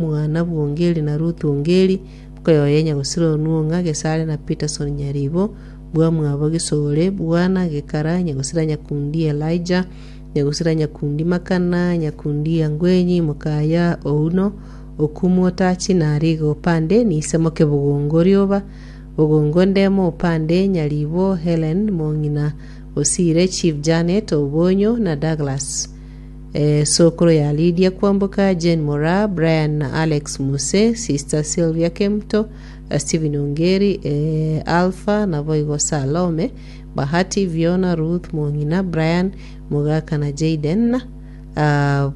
Omwana bw'Ongeri na Ruth Ongeri, mokoyoye Nyagosira Onwong'a, Gesare na Peterson Nyaribo, bwamwabo Gisore, Bwana Gekara, Nyagosira Nyakundi Elijah, Nyagosira Nyakundi Makana, Nyakundi Angwenyi, Mokaya Ouno, Okumu Otachi na Ariga Opande, Nise moke Bogongo Rioba, Bogongo Ndemo Opande, Nyaribo Hellen, Mong'ina Osire, Chief Janet Obonyo na Douglas. Sokoro ya Lydia Kwamboka, Jane Moraa, Brian na Alex Muse, Sister Sylvia Kemto, Stephen Ongeri, Alpha naboigo Salome, Bahati, Viona, Ruth Mong'ina, Brian Mogaka na Jayden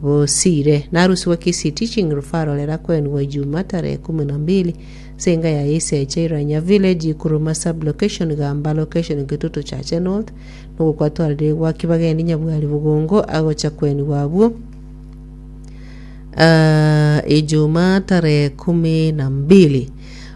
Bosire. Narusigwe Kisii Teaching Referral erakoenigwa Ijuma tarehe kumi na mbili ase enga ya Isecha Iranya Village, Ikuruma Sub-Location, Gamba Location, Kitutu Chache North. Nogokwatwarire gwa kibagendi nyabwari bogongo agocha kwenigwa abwo ah, Ijumaa tarehe kumi na mbili.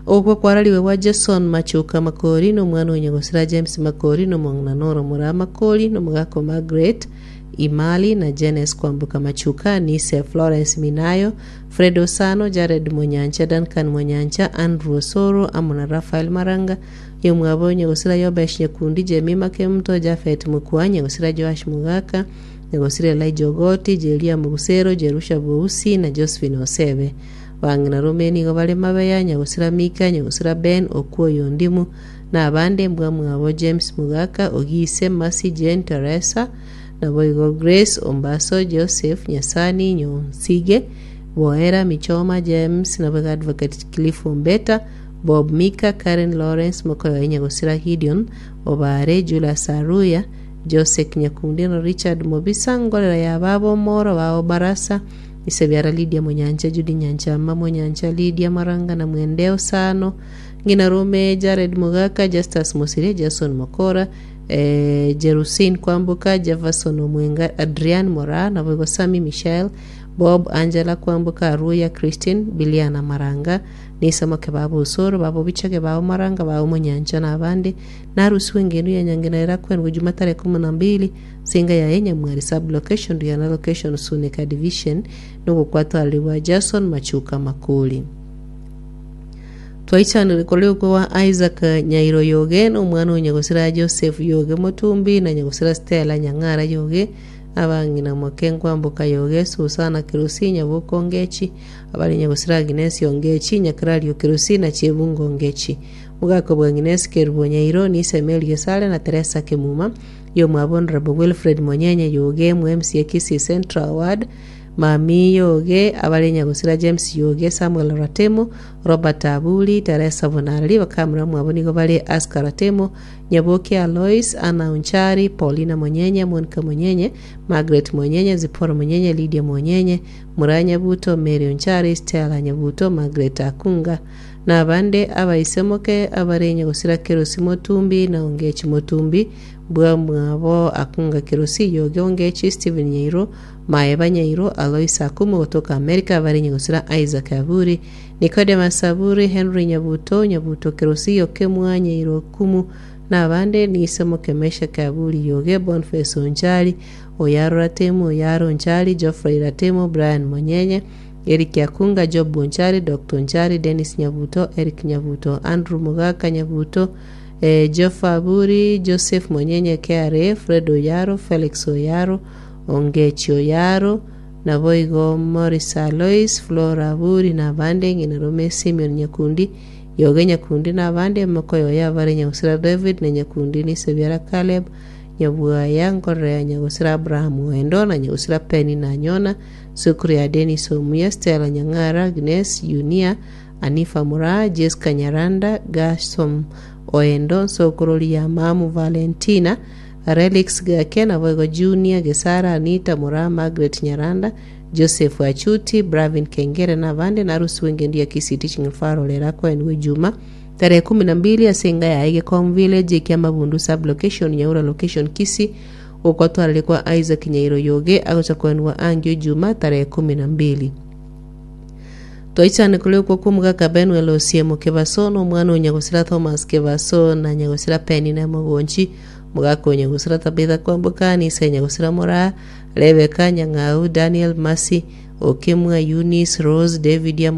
Ogokwa kwarariwe gwa Jason Machuka Makori na omwana o nyagosira James Makori na omong'ina Nora Moraa Makori na omogaka o Margaret Imali na Jenes Kwamboka Machuka, Nise Florence Minayo, Fred Osano, Jared Monyancha, Duncan Monyancha, Andrew Osoro amo na Raphael Maranga Yomwabo nyagosira Yobesh nyakundi Jemima Kemuto, Jafet Mokua, nyagosira Joash Mogaka, nyagosira Elijah Ogoti, Jeria Mogusero, Jerusha Bousi, na Josephine Osebe. Bang'ina rome nigo bare Mabeya, nyagosira Mika, nyagosira Ben, Okuo Ondimu, na abande mbwamwabo James Mogaka, Ogise, Mercy, Jane, Teresa, naboigo Grace, Ombaso, Joseph, Nyasani, Nyonsige, Boera, Michoma, James, naboigo Advocate Cliff Ombeta, Bob Mika, Karen Lawrence, mokoyoe nyagosira Gideon Obare, Julius Aruya, Josek Nyakundi na Richard Mobisa, ngorera ya baba Omoro, bao Barasa, ise biara Lydia Monyancha, Judy Nyanchama, Monyancha, Lydia Maranga na Mwende Osano, ng'ina Rome, Jared Mogaka, Justus Mosiria, Jason Mokora, eh, Jerusin Kwamboka, Jefferson Omwenga, Adrian Moraa, naboigo Sammy Michael, Bob, Angela Kwamboka, Aruya Christine, Biliana Maranga, Nisamoke babe osoro, babe obichake, babe omaranga, babe omonyancha, na abande, narusigwe engendu ya nyangena erakwendwe juma tarehe kumi na mbili, ase enga yaye Nyamwari sub-location, Riana location, Suneka division, nogokwatwareri gwa Jason Machuka Makori. Twaichanire korwa okwe gwa Isaac Nyairo Yoge, na omwana o nyagosira Joseph Yoge Motumbi, na nyagosira Stella Nyang'ara Yoge, abang'ina moke Nkwamboka Yoge, Susana Kerosi, Nyaboke Ongechi, Abare nyagosira Aginesi Ongechi, Nyakrario Kerosi, na Chebungo Ongechi. Mogaka bw'Aginesi Kerubo Nyairo, Nise Mary Gesare na Teresa Kemuma, Yomwabo Honourable Wilfred Monyenye Yoge, MCA Kisii Central Ward, Mami Yoge, abare nyagosira James Yoge, Samuel Ratemo, Robert Aburi, Teresa Bonareri, bakamura mwabo nigo bare Aska Ratemo, Nyaboke Alois, Anna Onchari, Paulina Monyenye, Monica Monyenye, Margaret Monyenye, Zipporah Monyenye, Lydia Monyenye, Muraa Nyabuto, Mary Onchari, Stella Nyabuto, Margaret Akunga, na abande abaisemoke abarenge gosira Kerosi Motumbi na Ongechi Motumbi, bwamwabo Akunga Kerosi, Yoge Ongechi, Stephen Nyairo, Maeba Nyairo, Alois Akumu gotoka America, abarenge gosira Isaac Aburi, Nicodemus Aburi, Henry Nyabuto, Nyabuto Kerosi, Okemwa Nyairo Okumu, na abande, Niisemoke Meshak Aburi, Yoge Boniface Onchari, Oyaro Ratemo, Oyaro Onchari, Geoffrey Ratemo, Brian Monyenye, Eric Akunga, Job Onchari, Doctor Onchari, Dennis Nyabuto, Eric Nyabuto, Andrew Mogaka Nyabuto, eh, Geoff Aburi, Joseph Monyenye KRA, Fred Oyaro, Felix Oyaro, Ongechi Oyaro, naboigo Morris Alois, Flora Aburi na abande, ng'ina Rome Simeon Nyakundi, Yoge Nyakundi na abande, mokoyoyo abare Nyagusira David na Nyakundi Nisebiara Caleb, Nyabwaya, nkorera ya nyagosira Abrahamu Oendo, na nyagosira Penina Anyona, sukuru ya Denis Omuya, Stella Nyang'ara, Agnes Yunia, Anifa Moraa, Jesca Nyaranda, Gershom Oendo, nsokorori ya Mamu Valentina, Relix Gake, naboigo Junior Gesara, Anita Moraa, Margaret Nyaranda, Joseph Achuti, Bravin Kengere na abande, narusigwe engendu ya Kisii Teaching Referral erakoenigwe Ijuma Tarehe kumi na mbili ase enga yaye Gekom Village, Ekiamabundu Sub-location, Nyaura Location, Kisii, gokotwarire kwa Isaac Nyairo Yoge agocha koenigwa angio Ijuma tarehe kumi na mbili. Twaichane koria okwo kw'omogaka Benuel Osiemo Kebaso na omwana o nyagosira Thomas Kebaso na nyagosira Penina Mogonchi, omogaka o nyagosira Tabitha Kwamboka, Nise nyagosira Moraa, Rebecca Nyang'au, Daniel Mercy, Okemwa Eunice, Rose, David amo.